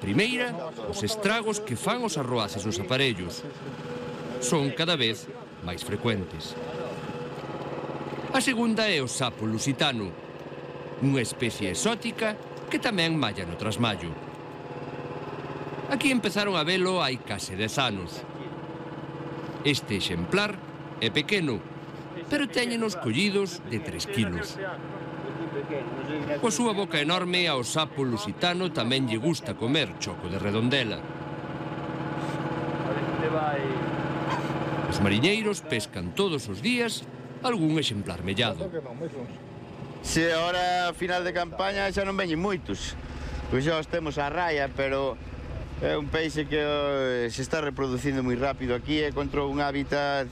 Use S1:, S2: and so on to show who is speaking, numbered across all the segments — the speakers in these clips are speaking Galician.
S1: primeira, os estragos que fan os arroaces nos aparellos. Son cada vez máis frecuentes. A segunda é o sapo lusitano, unha especie exótica que tamén malla no trasmallo. Aquí empezaron a velo hai case 10 anos. Este exemplar é pequeno, pero téñenos collidos de 3 kilos. Coa súa boca enorme, ao sapo lusitano tamén lle gusta comer choco de redondela. Os mariñeiros pescan todos os días algún exemplar mellado.
S2: Se agora, a final de campaña, xa non veñen moitos. Pois xa os temos a raia, pero é un peixe que se está reproducindo moi rápido aquí e encontrou un hábitat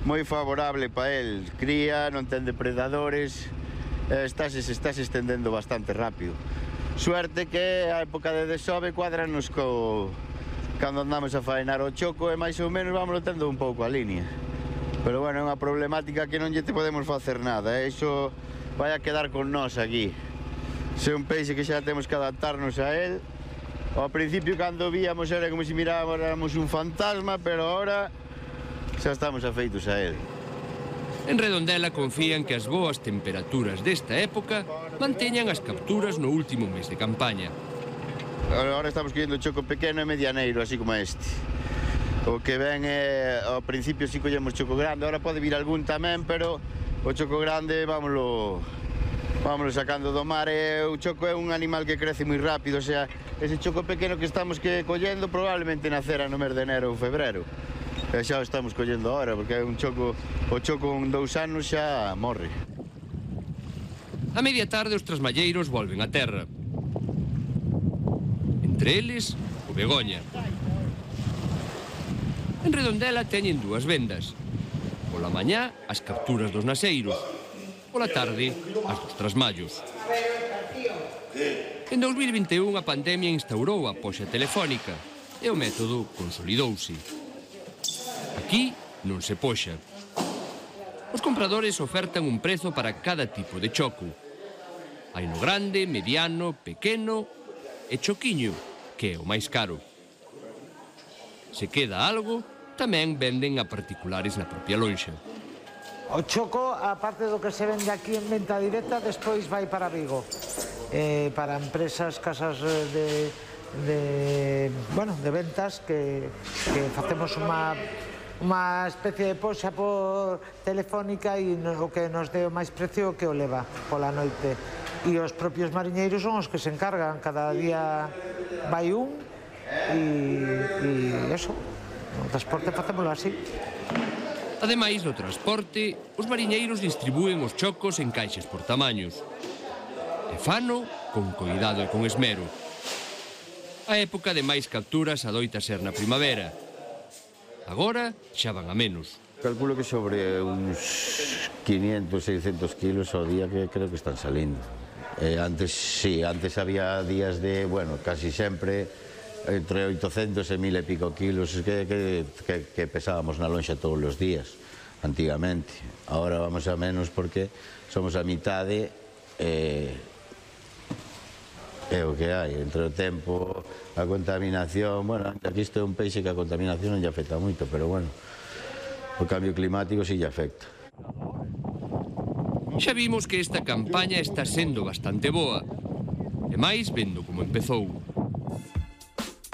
S2: moi favorable para el. Cría, non ten depredadores, estáse estendendo bastante rápido. Suerte que a época de desove cuadranos cando andamos a faenar o choco e máis ou menos vamos tendo un pouco a línea. Pero bueno, é unha problemática que non lle te podemos facer nada, iso vai a quedar con nós aquí. Se é un peixe que xa temos que adaptarnos a él. Ao principio, cando víamos, era como se miráramos un fantasma, pero ahora xa estamos afeitos a él.
S1: En Redondela confían que as boas temperaturas desta época manteñan as capturas no último mes de campaña.
S2: Agora estamos collendo choco pequeno e medianeiro, así como este. O que ven é, ao principio si collemos choco grande, agora pode vir algún tamén, pero o choco grande vámoslo sacando do mar. O choco é un animal que crece moi rápido, o sea, ese choco pequeno que estamos collendo probablemente nacera no mes de enero ou febrero. E xa o estamos collendo agora, porque é un choco, o choco con 2 anos xa morre.
S1: A media tarde os trasmalleiros volven a terra. Entre eles, o Begoña. En Redondela teñen 2 vendas. Pola mañá, as capturas dos naseiros. Pola tarde, as dos trasmallos. En 2021 a pandemia instaurou a poxa telefónica e o método consolidouse. Aquí non se poxa. Os compradores ofertan un prezo para cada tipo de choco. Hai no grande, mediano, pequeno e choquiño, que é o máis caro. Se queda algo, tamén venden a particulares na propia lonxa.
S3: O choco, aparte do que se vende aquí en venta directa, despois vai para Vigo. Para empresas, casas de ventas que facemos unha especie de poxa por telefónica e o que nos dé o máis precio que o leva pola noite. E os propios mariñeiros son os que se encargan, cada día vai un e eso, o transporte facémolo así.
S1: Ademais do transporte, os mariñeiros distribúen os chocos en caixas por tamaños. E fano con coidado e con esmero. A época de máis capturas adoita ser na primavera. Agora xa van a menos.
S2: Calculo que sobre uns 500, 600 kilos ao día que creo que están salindo. Antes había días de, casi sempre entre 800 e 1000 e pico kilos que pesábamos na lonxa todos os días, antigamente. Ahora vamos a menos porque somos a mitade e o que hai. Entre o tempo, a contaminación, aquí isto é un peixe que a contaminación non lle afecta moito, pero o cambio climático sí lle afecta.
S1: Xa vimos que esta campaña está sendo bastante boa, e máis vendo como empezou.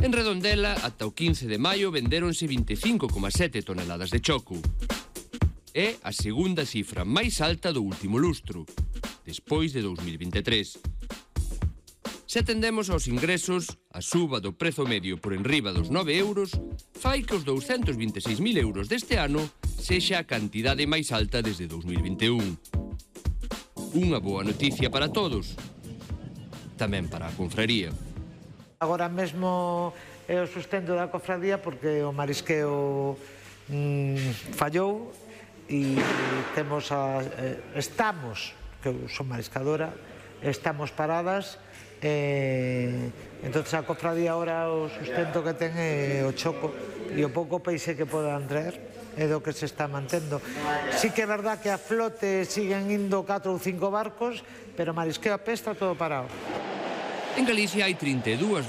S1: En Redondela, ata o 15 de maio, vendéronse 25,7 toneladas de choco. É a segunda cifra máis alta do último lustro, despois de 2023. Se atendemos aos ingresos, a suba do prezo medio por enriba dos 9 euros fai que os 226.000 euros deste ano sexa a cantidade máis alta desde 2021. Unha boa noticia para todos, tamén para a confraría.
S3: Agora mesmo é o sustento da cofradía porque o marisqueo fallou e estamos, que eu son mariscadora, estamos paradas. Entonces a cofradía ahora o sustento que ten é o choco e o pouco peixe que podan traer é do que se está mantendo. Sí que é verdad que a flote siguen indo 4 ou 5 barcos, pero marisqueo a pé está todo parado.
S1: En Galicia hai 32